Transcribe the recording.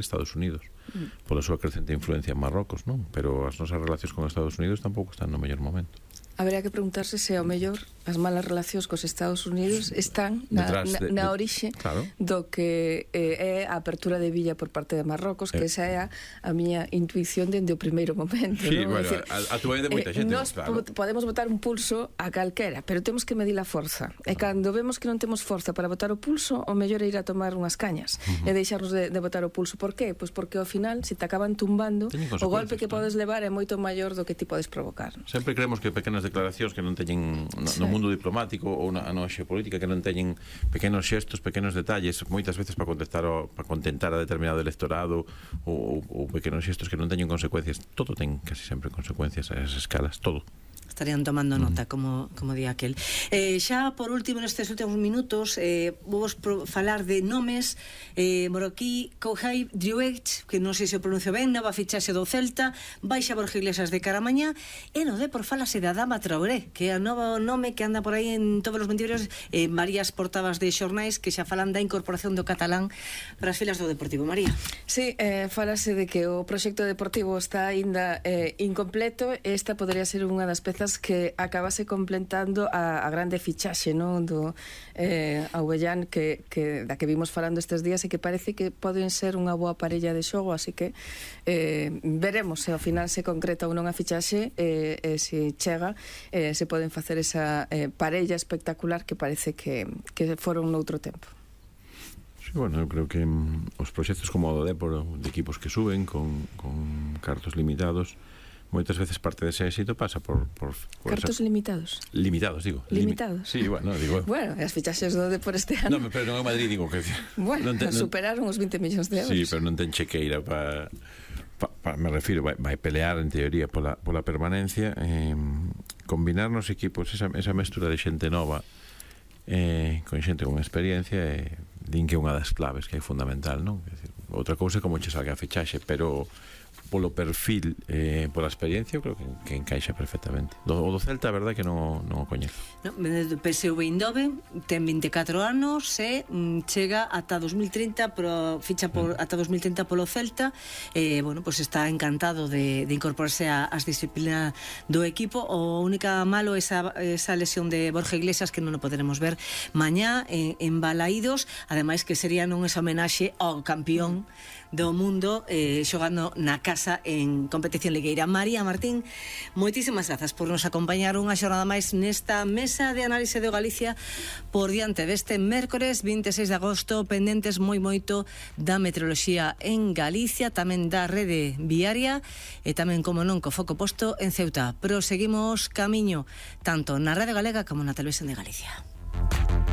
Estados Unidos, pola súa crecente influencia en Marrocos, non? Pero as nosas relacións con Estados Unidos tampouco están no mellor momento. Habería que preguntarse se ao mellor as malas relacións cos Estados Unidos están na orixe do que é a apertura de Villa por parte de Marrocos, que esa é a miña intuición dende o primeiro momento. Sí, bueno, a túa de moita xente. Nós podemos botar un pulso a calquera, pero temos que medir a forza. E cando vemos que non temos forza para botar o pulso, o mellor é ir a tomar unhas cañas e deixarnos de botar o pulso. Por qué? Pois porque ao final, se te acaban tumbando, o golpe que podes levar é moito maior do que ti podes provocar. Sempre creemos que pequenas declaracións que non teñen no mundo diplomático ou na xeopolítica, que non teñen pequenos xestos, pequenos detalles, moitas veces para contentar a determinado electorado, ou pequenos xestos que non teñen consecuencias. Todo ten casi sempre consecuencias a esas escalas, todo. Estarían tomando nota, como di aquel. Xa por último, nestes últimos minutos, vamos falar de nomes. Moroquí, Kouhai, Driouech, que non sei se o pronuncio ben, nova fichaxe do Celta, baixa Borja Iglesias de cara a mañá, e no Depor falase da Adama Traoré, que é o novo nome que anda por aí en todos os mentireiros, varias portadas de xornais que xa falan da incorporación do catalán para as filas do Deportivo. María. Sí, falase de que o proxecto deportivo está aínda incompleto. Esta podería ser unha das pezas que acabase completando a grande fichaxe, non, do Aubellán, da que vimos falando estes días, e que parece que poden ser unha boa parella de xogo, así que veremos se ao final se concreta ou non a fichaxe, se chega, se poden facer esa parella espectacular que parece que foron noutro tempo. Sí, bueno, eu creo que os proxectos como o do Depor, de equipos que suben con cartos limitados, moitas veces parte dese éxito pasa por cartos limitados. Limitados, digo. Limitados? Sí, bueno, digo. Bueno, as fichaxes do Depor este ano. No, pero non é Madrid, digo que bueno, superaron os 20 millóns de euros. Sí, pero non ten chequeira para me refiro, vai pelear en teoría pola permanencia, combinar nos equipos esa mestura de xente nova con xente con experiencia, din que é unha das claves que é fundamental, non? Outra cousa é como che salga a fichaxe, pero polo perfil, pola experiencia, eu creo que encaixa perfectamente. O do Celta, a verdade que non o coñezo. PSV Eindhoven ten 24 anos e chega ata 2030, ficha ata 2030 polo Celta. Bueno, pues está encantado de incorporarse ás disciplinas do equipo. O única malo é esa lesión de Borja Iglesias, que non o poderemos ver mañá en Balaídos, ademais que sería non esa homenaxe ao campeón do mundo xogando na casa en competición ligueira. María Martín, moitísimas grazas por nos acompañar unha xornada máis nesta mesa de análise de Galicia por diante deste mércores 26 de agosto, pendentes moito da meteoroloxía en Galicia, tamén da rede viaria e tamén, como non, co foco posto en Ceuta. Proseguimos camiño tanto na Radio Galega como na Televisión de Galicia.